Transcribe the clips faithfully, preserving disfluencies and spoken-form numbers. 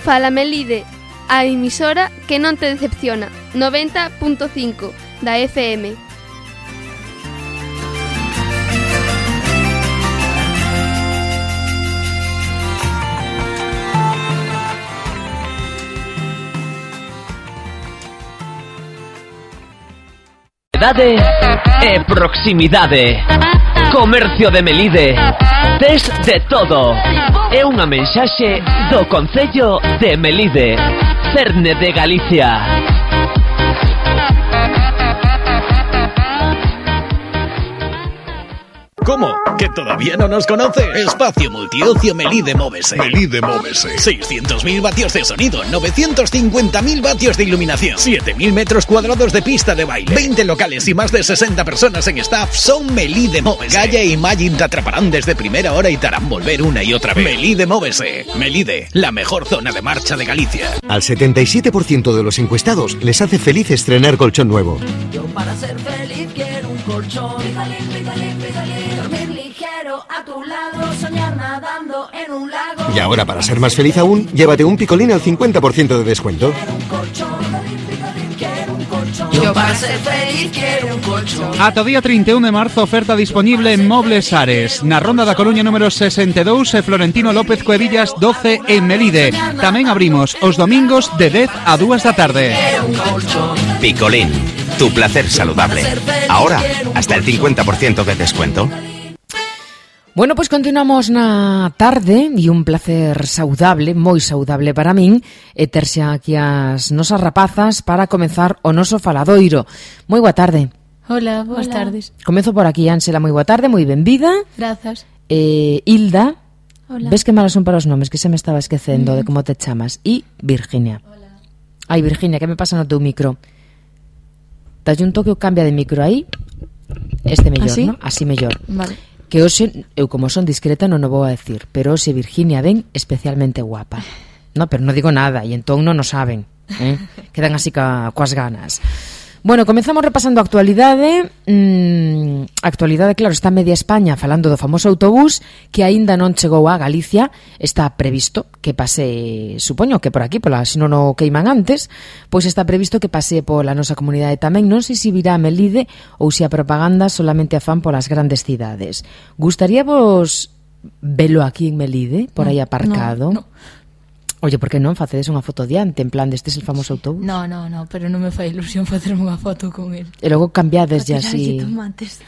Fala Melide, a emisora que non te decepciona. noventa punto cinco da F M. Edade e proximidade. Comercio de Melide. Tes de todo. É unha mensaxe do Concello de Melide, Cerne de Galicia. ¿Cómo? ¿Que todavía no nos conoces? Espacio Multiocio Melide Móvese. Melide Móvese. seiscientos mil vatios de sonido, novecientos cincuenta mil vatios de iluminación, siete mil metros cuadrados de pista de baile, veinte locales y más de sesenta personas en staff son Melide Móvese. Gaia y Magin te atraparán desde primera hora y te harán volver una y otra vez. Melide Móvese. Melide, la mejor zona de marcha de Galicia. Al setenta y siete por ciento de los encuestados les hace feliz estrenar colchón nuevo. Yo para ser feliz quiero un colchón. Picolín, picolín, picolín. Dormir ligero a tu lado, soñar nadando en un lago. Y ahora, para ser más feliz aún, llévate un picolín al cincuenta por ciento de descuento. Quiero un colchón. Picolín, picolín, quiero un colchón. Yo para ser feliz quiero un colchón. Ata día trinta e un de marzo, oferta disponible en Mobles Ares. Na Ronda da Coruña número sesenta e dous e Florentino López Cuevillas doce en Melide. Tamén abrimos os domingos de dez a dúas da tarde. Picolín, tu placer saludable. Ahora, hasta el cincuenta por ciento de descuento. Bueno, pois continuamos na tarde e un placer saudable, moi saudable para min, e terse aquí as nosas rapazas para comenzar o noso faladoiro. Moi boa tarde. Hola, boas Hola. tardes. Comezo por aquí, Ánsela, moi boa tarde, moi benvida. Grazas. Eh, Hilda. Hola. Ves que malas son para os nomes, que se me estaba esquecendo mm. de como te chamas. E Virginia. Hola. Ai, Virginia, que me pasa no teu micro? Dalle un toque ou cambia de micro aí. Este mellor, ¿Así? ¿no? Así mellor. Vale. Que hoxe, eu como son discreta non o vou a decir, pero hoxe Virginia ven especialmente guapa. No, pero non digo nada, e entón non o saben, eh? Quedan así ca, coas ganas. Bueno, comezamos repasando a actualidade. mm, A actualidade, claro, está media España falando do famoso autobús que aínda non chegou a Galicia. Está previsto que pase, supoño que por aquí, pola, se non o queiman antes, pois está previsto que pase pola nosa comunidade tamén. Non sei se virá a Melide ou se a propaganda solamente a fan polas grandes cidades. Gustaríavos velo aquí en Melide, por aí aparcado? No, no. Oye, por que non facedes unha foto diante, en plan, destes el famoso autobús? No, no, no, pero non me fai ilusión facerme unha foto con el. E logo cambiades ya así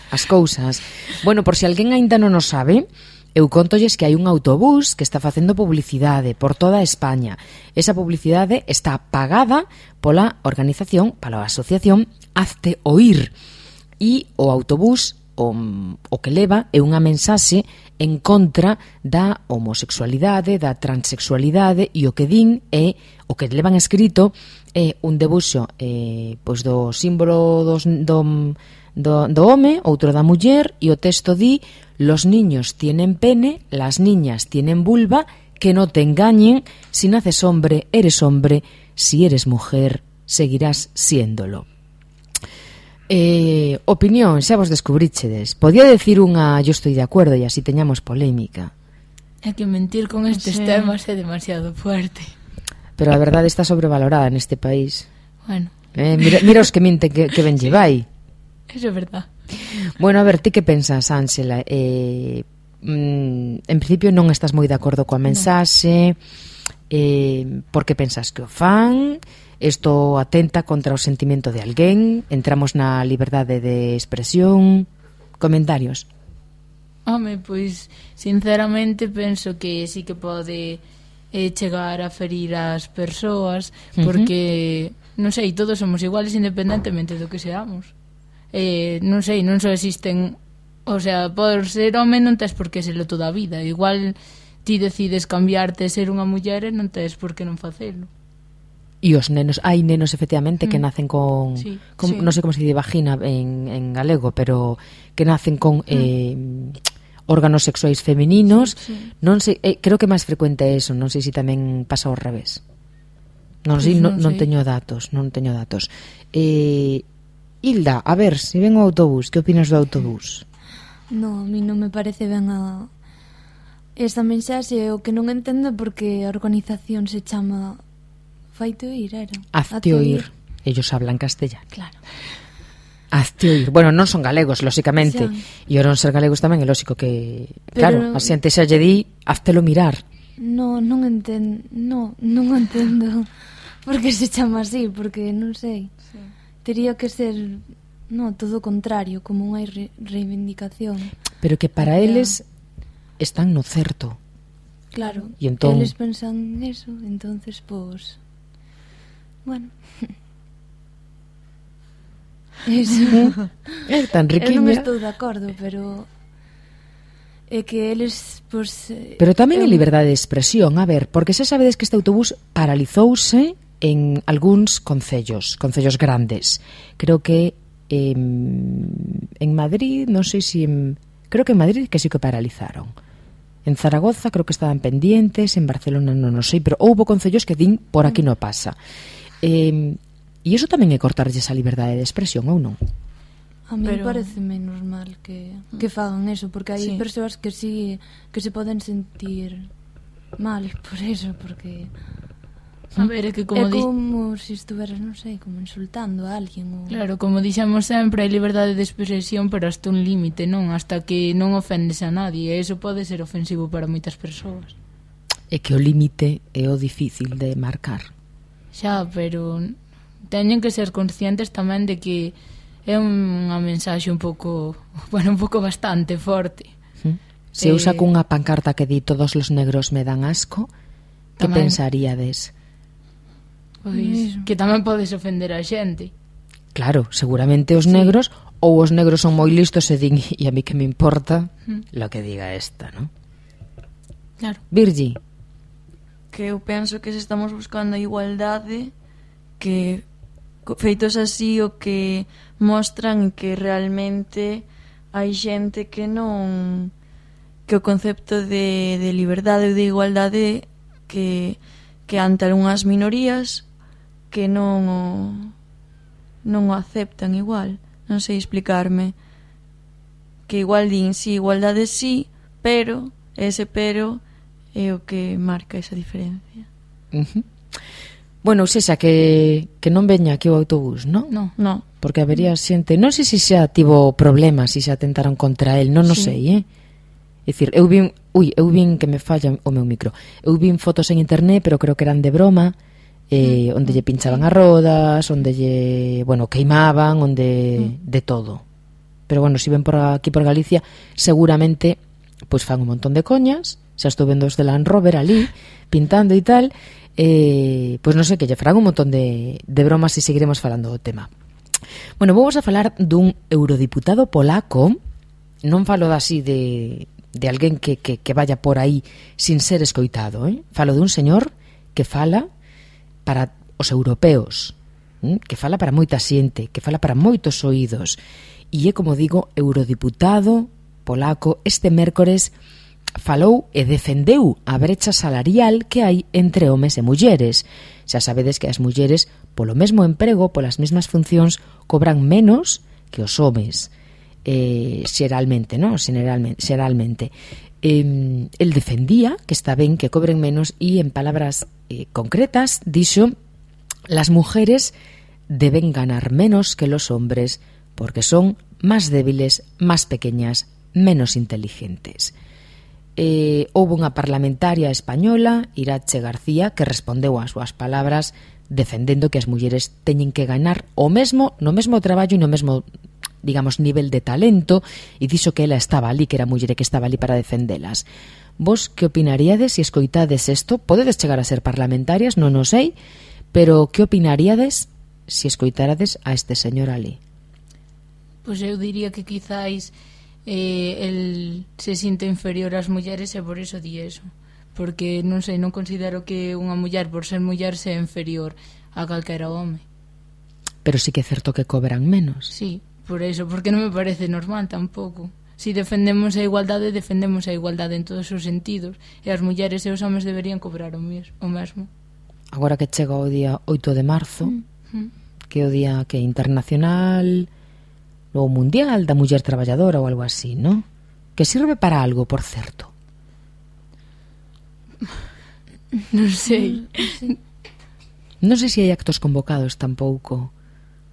as cousas. Bueno, por se alguén aínda non o sabe, eu contolles que hai un autobús que está facendo publicidade por toda España. Esa publicidade está pagada pola organización, pola asociación Hazte Oír. E o autobús o, o que leva é unha mensaxe en contra da homosexualidade, da transexualidade, e o que din é, o que levan escrito é un debuxo eh, pois do símbolo dos, do, do, do home, outro da muller, e o texto di: los niños tienen pene, las niñas tienen vulva, que no te engañen, si naces hombre, eres hombre, si eres mujer, seguirás siéndolo. Eh, opinión, xa vos descubríchedes. Podía decir unha yo estoy de acuerdo e así teñamos polémica. É que mentir con estes sí. temas é demasiado fuerte. Pero a verdade está sobrevalorada neste país. Bueno. Eh, mira, mira os que minten que, que ben lle vai. Eso é verdad. Bueno, a ver, ti que pensas, Ánsela? Eh, mm, en principio non estás moi de acordo coa mensaxe. No. Eh, por que pensas que o fan? Isto atenta contra o sentimento de alguén? Entramos na liberdade de expresión? Comentarios? Home, pois, sinceramente, penso que sí que pode eh, chegar a ferir as persoas, porque, uh-huh. non sei, todos somos iguales independentemente do que seamos. Eh, non sei, non só existen... O sea, por ser home non tes por que serlo toda a vida. Igual ti decides cambiarte e ser unha muller e non tes por que non facelo. E os nenos, hai nenos efectivamente que mm. nacen con, sí, con sí. non sei como se dice vagina en, en galego, pero que nacen con mm. eh, órganos sexuais femininos. Sí, sí. Non sei, eh, creo que máis frecuente é eso, non sei se tamén pasa ao revés. Non sei, pues non, non non teño datos, non teño datos. Eh, Hilda, a ver, se ven o autobús, que opinas do autobús? No, a mí non me parece ben a esta mensaxe o que non entendo porque a organización se chama Faite Oír, era? Hazte Oír. Ellos hablan castellano. Claro. Hazte Oír. Bueno, non son galegos, lóxicamente. E ao non ser galegos tamén é lóxico que... Pero... Claro, a xente xa lle di, háztelo mirar. No, non entendo, no, non entendo por que se chama así, porque non sei. Sí. Tería que ser, no, todo o contrario, como unha re reivindicación. Pero que para Porque eles están no certo. Claro, y entón... eles pensan eso, entonces, pues, bueno... Eso. É tan riquiña. Eu non estou de acordo, pero é que eles, pues, pero tamén é eu... liberdade de expresión, a ver, porque xa sabedes que este autobús paralizouse en algúns concellos, concellos grandes. Creo que eh, en Madrid, non sei se en, creo que en Madrid que sí que paralizaron. En Zaragoza creo que estaban pendientes, en Barcelona non, non sei, pero houbo concellos que din por aquí non pasa. Eh, e iso tamén é cortarlle esa liberdade de expresión, ou non? A mí Pero... parece menos mal que, que fagan eso, porque hai sí. persoas que sí que se poden sentir mal por eso, porque a ver, é que como é como di... se si estuveras, non sei, como insultando a alguén ou... Claro, como dixemos sempre, hai liberdade de expresión, pero hasta un límite, non? Hasta que non ofendes a nadie, e iso pode ser ofensivo para moitas persoas. É que o límite é o difícil de marcar. Xa, pero teñen que ser conscientes tamén de que é unha mensaxe un pouco, bueno, un pouco bastante forte. Se eu saco unha pancarta que di todos os negros me dan asco, que tamén... pensaríades? Pois, que tamén podes ofender a xente. Claro, seguramente os sí. negros, ou os negros son moi listos e din, e a mí que me importa mm. lo que diga esta, ¿no? Claro. Virgi. Que eu penso que se estamos buscando a igualdade, que feitos así o que mostran que realmente hai xente que non, que o concepto de, de liberdade ou de igualdade que, que ante algunhas minorías que non o, non o aceptan igual, non sei explicarme, que igual din si, sí, igualdade sí, pero ese pero é o que marca esa diferencia. Uh-huh. Bueno, sexa que, que non veña aquí o autobús, non? No, no. Porque habería xente, non sei se xa tivo problemas, se xa atentaron contra el, non o sí. sei, eh? É dicir, eu vin, ui, eu vin que me falla o meu micro. Eu vin fotos en internet, pero creo que eran de broma, eh, onde lle pinchaban as rodas, onde lle, bueno, queimaban, onde de todo. Pero bueno, se ven por aquí por Galicia, seguramente pois fan un montón de coñas. Xa estou vendo os de Land Rover ali pintando e tal. Eh, pois non sei, que lle farán un montón de, de bromas e seguiremos falando do tema. Bueno, vamos a falar dun eurodiputado polaco. Non falo así de, de alguén que, que, que vaya por aí sin ser escoitado, eh? Falo de un señor que fala para os europeos, eh? Que fala para moita xente, que fala para moitos oídos, e é, como digo, eurodiputado polaco. Este mércores falou e defendeu a brecha salarial que hai entre homes e mulleres. Xa sabedes que as mulleres, polo mesmo emprego, polas mesmas funcións, cobran menos que os homes, eh, xeralmente, non? Xeralmente, xeralmente. Eh, el defendía que está ben que cobren menos e, en palabras eh, concretas, dixo: las mujeres deben ganar menos que los hombres porque son más débiles, más pequeñas, menos inteligentes. Eh, houve unha parlamentaria española, Irache García, que respondeu ás súas palabras defendendo que as mulleres teñen que ganar o mesmo no mesmo traballo e no mesmo, digamos, nivel de talento, e dixo que ela estaba ali, que era muller e que estaba ali para defendelas. Vos que opinaríades se escoitades isto? Podedes chegar a ser parlamentarias, non o sei, pero que opinaríades se escoitarades a este señor ali? Pois eu diría que quizáis eh, el se sinta inferior ás mulleres e por iso di eso, porque non sei, non considero que unha muller por ser muller sea inferior a calquera home. Pero sí que é certo que cobran menos. Sí, por eso, porque non me parece normal tampouco. Si defendemos a igualdade, defendemos a igualdade en todos os sentidos, e as mulleres e os homes deberían cobrar o mesmo. Agora que chega o día oito de marzo, mm-hmm. que é o día que é internacional ou mundial da muller traballadora ou algo así, non? Que sirve para algo, por certo. Non sei. Non sei se hai actos convocados tampouco.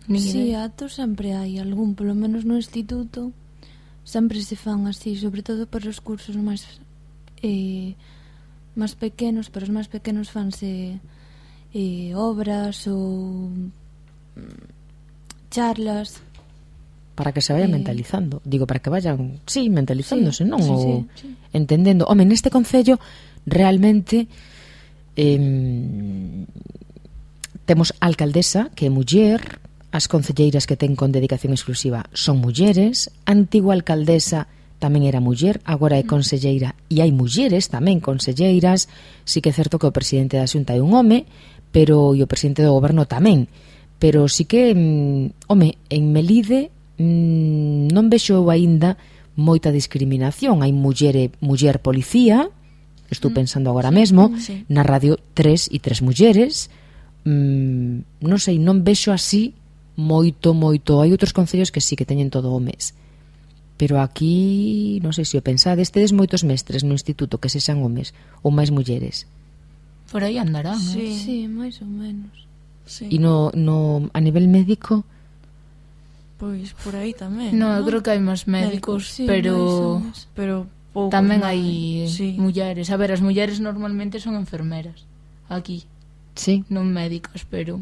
Si, actos sempre hai algún, polo menos no instituto sempre se fan así, sobre todo para os cursos máis eh, máis pequenos, para os máis pequenos fanse eh, obras ou charlas para que se vaya eh... mentalizando, digo, para que vayan, sí, mentalizándose, sí, non? Sí, ou sí, sí. entendendo. Home, neste concello realmente eh, temos a alcaldesa que é muller, as concelleiras que ten con dedicación exclusiva son mulleres, a antigua alcaldesa tamén era muller, agora é conselleira e hai mulleres tamén conselleiras. Sí que é certo que o presidente da Xunta é un home, pero e o presidente do goberno tamén, pero sí que mm, home, en Melide mm, non vexo aínda moita discriminación. Hai muller, muller policía, estou pensando agora sí, mesmo, sí. Na radio tres e tres mulleres. mm, non sei, non vexo así moito, moito. Hai outros concellos que sí que teñen todo homes, pero aquí non sei se o pensades, tedes moitos mestres no instituto que sexan homes ou máis mulleres. Por aí andarán, sí, eh? sí, máis ou menos. Sí. E no, no, a nivel médico? Pois por aí tamén. No, ¿no? eu creo que hai máis médicos, sí, pero máis pero poucos tamén máis. hai sí. mulleres. A ver, as mulleres normalmente son enfermeras aquí. Sí. Non médicas, pero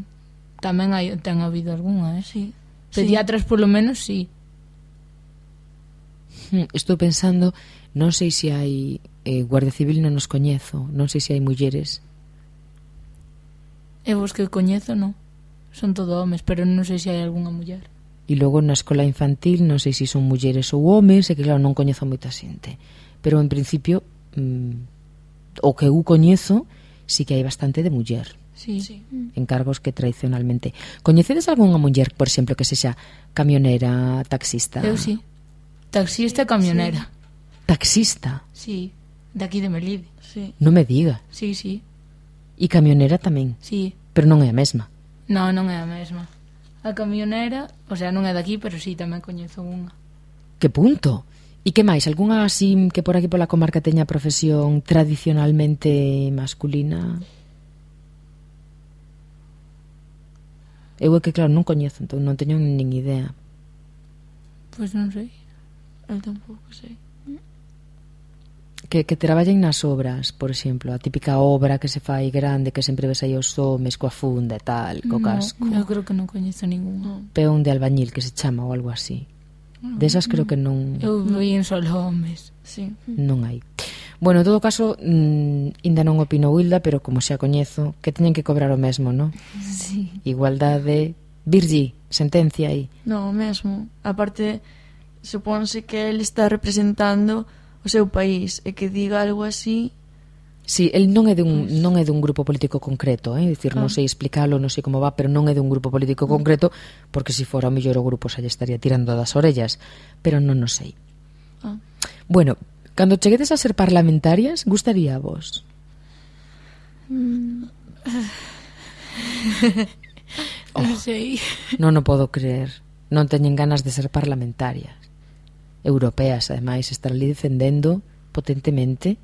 tamén hai, ten habido algunha, eh? Sí. Pediatras, sí. Polo menos, sí. Estou pensando, non sei se hai eh, Guardia Civil, non nos coñezo, non sei se hai mulleres. Eu os que coñezo, non. Son todo homes, pero non sei se hai algunha muller. E logo na escola infantil non sei se son mulleres ou homes, e que claro, non coñezo moita xente, pero en principio mm, o que eu coñezo sí que hai bastante de muller. Sí, sí. En cargos que tradicionalmente. Coñecedes algunha muller, por exemplo, que sexa camionera, taxista? Eu sí. Taxista e camionera. Sí. Taxista? Sí, de aquí de Melide. Sí. Non me diga. Sí, sí. E camionera tamén? Sí. Pero non é a mesma? Non, non é a mesma. A camionera, o sea, non é daqui, pero sí, tamén coñezo unha. Que punto? E que máis? Algúnha así que por aquí pola comarca teña profesión tradicionalmente masculina? Eu é que, claro, non coñezo, entón non teño nin idea. Pois non sei. Eu tampouco sei. Que, que traballen nas obras, por exemplo, a típica obra que se fai grande, que sempre ves aí os homes coa funda e tal, co no, casco. Eu creo que non coñezo ningún. Peón de albañil que se chama ou algo así. No, Desas creo no. que non... Eu vi en solo homes. Sí. Non hai. Bueno, en todo caso, mmm, ainda non opino Hilda, pero como xa coñezo, que teñen que cobrar o mesmo, non? Sí. Igualdade. Virgi, sentencia aí. Non, o mesmo. Aparte, supónse que ele está representando o seu país e que diga algo así. Sí, el non é dun, pues... non é dun grupo político concreto, eh? Dicir, ah. non sei explicalo, non sei como va, pero non é dun grupo político concreto, porque se si fora o mellor o grupo xa lle estaría tirando das orellas, pero non o sei. Ah. Bueno, cando cheguedes a ser parlamentarias, gustaría a vos? Mm. Oh, non sei. Non o podo creer. Non teñen ganas de ser parlamentarias. Europeas, ademais, estar ali defendendo potentemente.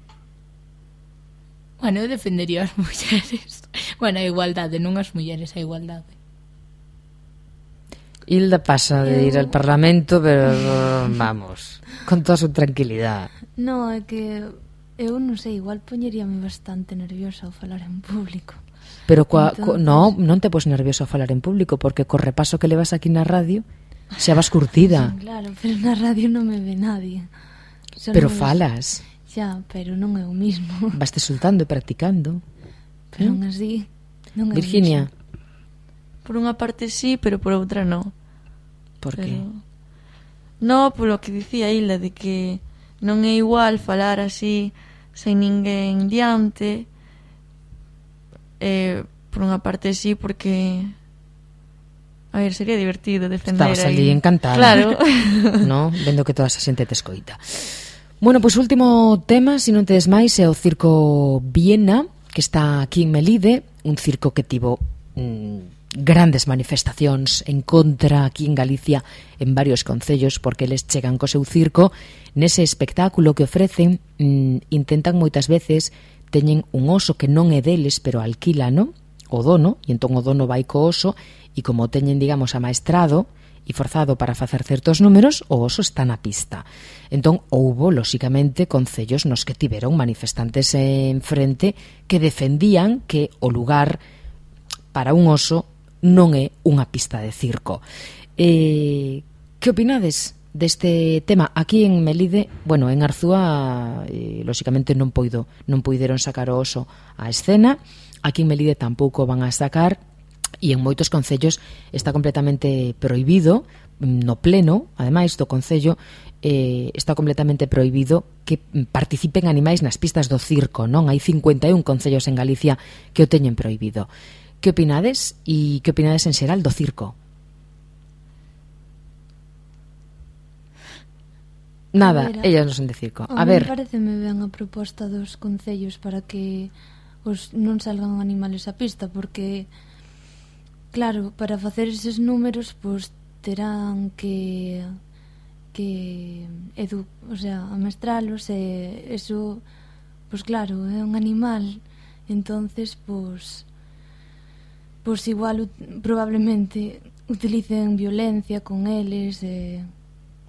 Bueno, eu defendería as mulleres. Bueno, a igualdade, non as mulleres, a igualdade. Hilda pasa de ir eu... al Parlamento, pero vamos, con toda su tranquilidad. No, é que eu non sei, igual poñeríame bastante nerviosa ao falar en público. Pero coa, Entonces... co, no, non te pos nervioso a falar en público, porque co repaso que levas aquí na radio xa vas curtida. Sí, claro, pero na radio non me ve nadie. Só Pero me falas. Xa, pero non é o mismo. Vaste soltando e practicando. Pero non así, non é Virginia. Por unha parte sí, pero por outra no. Por pero... que? No, polo que dicía Hilda, de que non é igual falar así sen ninguén diante. Eh, por unha parte sí, porque a ver, sería divertido defender. Estabas ali ahí. encantada. Claro. No, vendo que toda esa xente te escoita. Bueno, pois pues, último tema, se non tedes máis, é o Circo Viena, que está aquí en Melide, un circo que tivo mmm, grandes manifestacións en contra aquí en Galicia en varios concellos, porque eles chegan co seu circo. Nese espectáculo que ofrecen, mmm, intentan moitas veces teñen un oso que non é deles, pero alquílano o dono, e entón o dono vai co oso, e como teñen, digamos, amaestrado e forzado para facer certos números, o oso está na pista. Entón, houbo, lóxicamente, concellos nos que tiveron manifestantes en frente que defendían que o lugar para un oso non é unha pista de circo. Eh, que opinades deste tema? Aquí en Melide, bueno, en Arzúa, eh, lóxicamente non poido, non poideron sacar o oso á escena. Aquí en Melide tampouco van a sacar, e en moitos concellos está completamente prohibido, no pleno, ademais do concello, eh, está completamente prohibido que participen animais nas pistas do circo, non? Hai cincuenta e un concellos en Galicia que o teñen prohibido. Que opinades? E que opinades en xeral do circo? Nada, ver, ellas non son de circo. A, a ver, pareceme ben a proposta dos concellos para que os non salgan animales á pista, porque claro, para facer eses números pois terán que que edu, o sea, amestralos, e eso pois claro, é un animal, entonces pois pois igual probablemente utilicen violencia con eles, e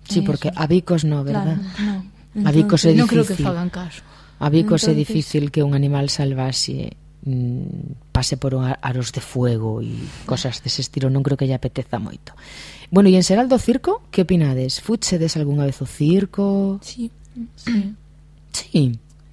sí, porque a bicos no, verdad? Claro, no. A bicos é difícil. Non creo que fagan caso. A bicos entonces, é difícil que un animal salvaxe mmm, pase por un aros de fuego e cosas dese estilo, non creo que lle apeteza moito. Bueno, e en xeral do circo, que opinades? Futsedes algunha vez o circo? Sí. Sí. Sí.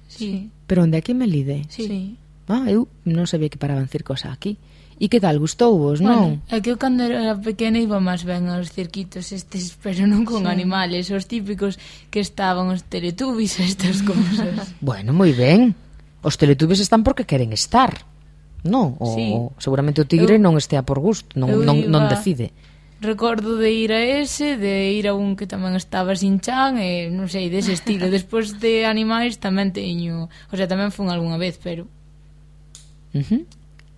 Sí. Pero onde aquí en Melide? Sí. Ah, eu non sabía que paraban circos aquí. E que tal, gustouvos, non? Bueno, é que eu cando era pequena iba máis ben aos cirquitos estes, pero non con sí. animales, os típicos que estaban os Teletubbies, estas cousas. Bueno, moi ben. Os Teletubbies están porque queren estar, non? O sí. seguramente o tigre eu, non estea por gusto, non, non, non decide. Recordo de ir a ese, de ir a un que tamén estaba sin chan, e non sei, dese estilo. Despois de animais tamén teño, o sea, tamén fun algunha vez, pero... Uh-huh.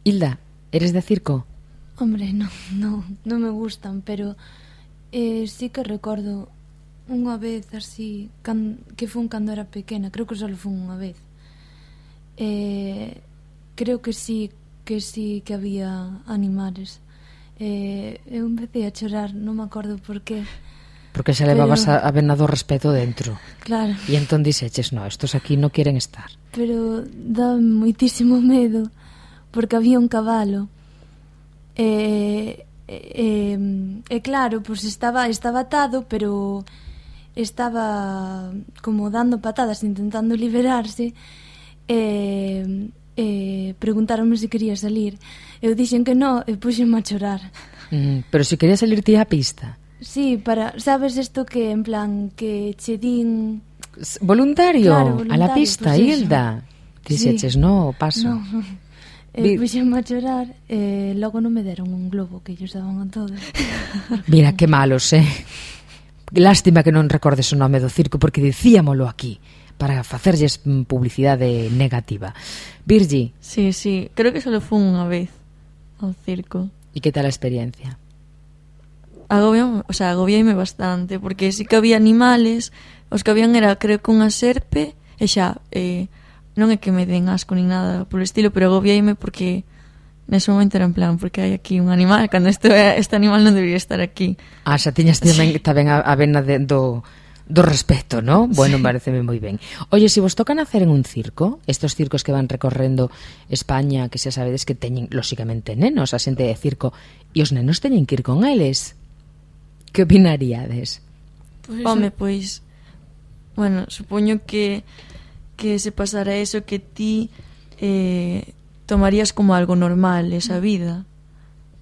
Hilda, eres de circo? Hombre, non, non, non me gustan, pero eh, sí que recordo unha vez así, can, que fun cando era pequena, creo que só fun unha vez. Eh, creo que sí, que sí que había animales. Eh, eu empecé a chorar, non me acordo por qué. Porque se levabas pero... a, a vena do respeto dentro. Claro. E entón dixeches, no, estos aquí non queren estar. Pero dá moitísimo medo, porque había un cabalo. E, e, e claro, pois estaba, estaba atado, pero estaba como dando patadas, intentando liberarse. E, e preguntaronme se quería salir. Eu dixen que no, e puxenme a chorar. Mm, pero se quería salir ti á pista. Sí, para, sabes isto que en plan que che din voluntario, claro, voluntario a la pista, pues Hilda. Dixeches, sí. no, paso. No. E puxenme a chorar e logo non me deron un globo que ellos daban a todos. Mira, que malos, eh. Lástima que non recordes o nome do circo, porque dicíamolo aquí para facerlles publicidade negativa. Virgi. Sí, sí, creo que só fun unha vez ao circo. E que tal a experiencia? Agobiame, o sea, agobiame bastante, porque sí que había animales, os que habían era, creo que unha serpe, e xa, eh, non é que me den asco nin nada polo estilo, pero agobiame porque nese momento era en plan, porque hai aquí un animal, cando este, este animal non debería estar aquí. Ah, xa tiñas tamén, sí. tamén a, a vena de, do, do respeto, ¿no? Bueno, sí. Pareceme moi ben. Oye, se vos tocan hacer en un circo, estos circos que van recorrendo España, que xa sabedes que teñen, lóxicamente, nenos, a xente de circo, e os nenos teñen que ir con eles. Que opinaríades? Pues, Home, pois, bueno, supoño que que se pasara eso, que ti eh, tomarías como algo normal esa vida,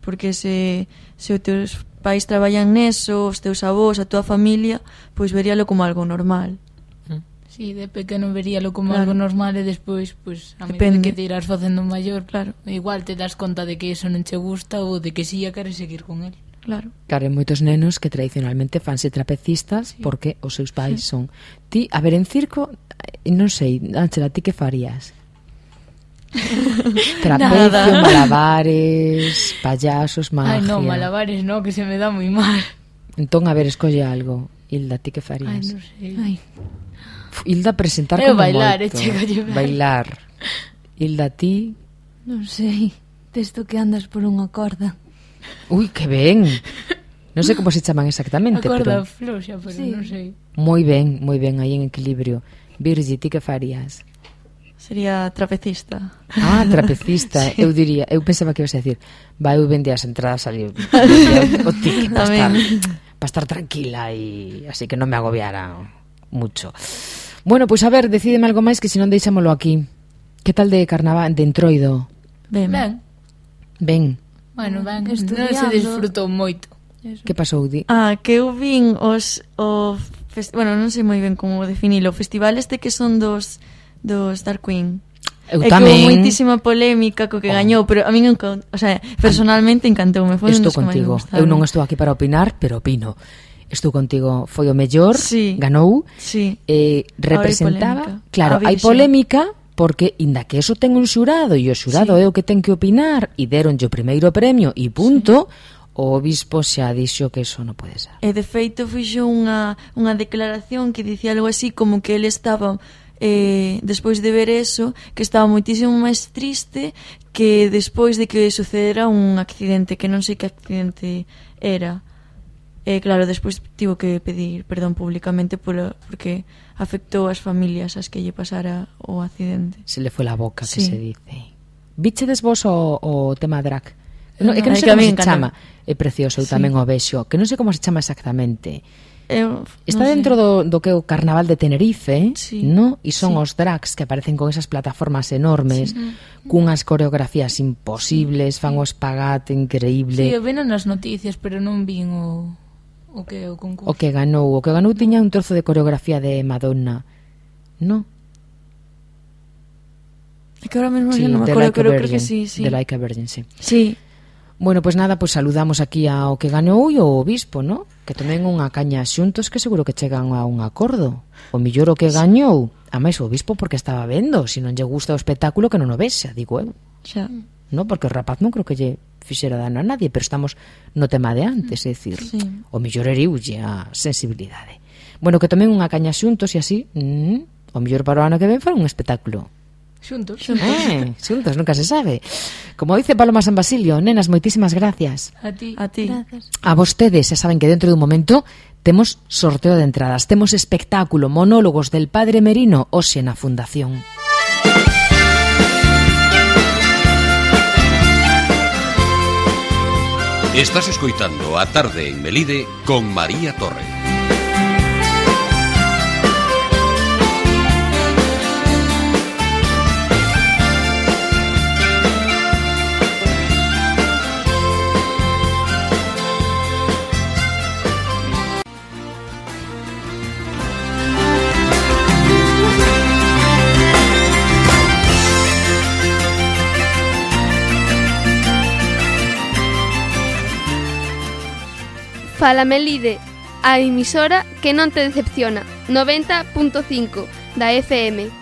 porque se, se os teus pais traballan neso, os teus avós, a tua familia, pois veríalo como algo normal. Sí, de pequeno veríalo como claro. algo normal, e despois, pois, a medida que te irás facendo maior, claro, igual te das conta de que eso non che gusta ou de que si a queres seguir con el. Claro. Claro, hai moitos nenos que tradicionalmente fanse trapecistas, sí. porque os seus pais sí. son. Ti, a ver, en circo, non sei, Ángela, ti que farías? Trapecio, malabares, payasos, magia. Ai, non, malabares non, que se me dá moi mal. Entón, a ver, escolle algo. Hilda, ti que farías? Ai, non sei. Ai. Hilda presentar Eu como bailar, moito. e chegalle ben. Bailar. Hilda, ti? Non sei, desto que andas por unha corda. Ui, que ben. Non sei como se chaman exactamente, A corda pero... floxa, pero Sí. non sei. Moi ben, moi ben, aí en equilibrio. Virgi, ti que farías? Sería trapecista. Ah, trapecista. Sí. Eu diría, eu pensaba que ibas a decir, vai, eu vendía as entradas ali o, o ticket para estar, pa estar tranquila e así que non me agobiara mucho. Bueno, pois pues, a ver, decídeme algo máis que se non deixámolo aquí. Que tal de carnaval, de entroido? Ben. Ben. Ben. Bueno, ben, non Estudiando. se disfrutou moito. Eso. Que pasou, Di? Ah, que eu vin os o fest... bueno, non sei moi ben como definilo, o festival este que son dos dos Dark Queen. Eu É que tamén. houve moitísima polémica co que Oh. gañou, pero a min, encan- o sea, personalmente encantoume, foi un Estou dos que máis me contigo. gustaron. Eu non estou aquí para opinar, pero opino. Estou contigo, foi o mellor, Sí. ganou, Sí. eh, polémica. representaba, claro, A hai Virxe. polémica porque inda que eso ten un xurado e o xurado Sí. é o que ten que opinar e deronlle o primeiro premio e punto, o obispo xa dixo que eso non pode ser. E de feito fixo unha, unha declaración que dicía algo así como que ele estaba eh, despois de ver eso, que estaba moitísimo máis triste que despois de que sucedera un accidente, que non sei que accidente era. E claro, despois tivo que pedir perdón públicamente polo, porque afectou as familias as que lle pasara o accidente. Se le foi la boca, que Sí. se dice. Bichedes vos o, o tema drag? No, é que non É sei que a como mí se encanta. chama. É precioso, eu Sí. tamén o vexo. Que non sei como se chama exactamente. Eu, Está non sei. dentro do, do que é o Carnaval de Tenerife, Sí. no? E son Sí. os drags que aparecen con esas plataformas enormes, Sí. cunhas coreografías imposibles, fan o espagate increíble. Sí, eu vino nas noticias, pero non vin o, o que é o concurso. O que ganou, o que ganou tiña un trozo de coreografía de Madonna. No? É que ahora mesmo Sí, non me de acordo, Like a pero creo que Virgin, sí, sí. de Like a Virgin, sí. Sí. Bueno, pois pues nada, pois pues saludamos aquí ao que ganou e ao obispo, ¿no? Que tomen unha caña xuntos que seguro que chegan a un acordo. O millor o que gañou, a máis o obispo porque estaba vendo, se non lle gusta o espectáculo que non o vexa, digo eu. Xa. No, porque o rapaz non creo que lle fixera dano a nadie, pero estamos no tema de antes, é dicir, Sí. o millor eriulle a sensibilidade. Bueno, que tomen unha caña xuntos e así, mm, o millor para o ano que ven fora un espectáculo. Xuntos. Eh, xuntos, nunca se sabe. Como dice Paloma San Basilio, nenas, moitísimas gracias. A ti. A ti. Gracias. A vostedes, xa saben que dentro dun momento temos sorteo de entradas, temos espectáculo, monólogos del Padre Merino, hoxe na Fundación. Estás escoitando A Tarde en Melide con María Torre. Fala Melide, a emisora que non te decepciona, noventa punto cinco da F M.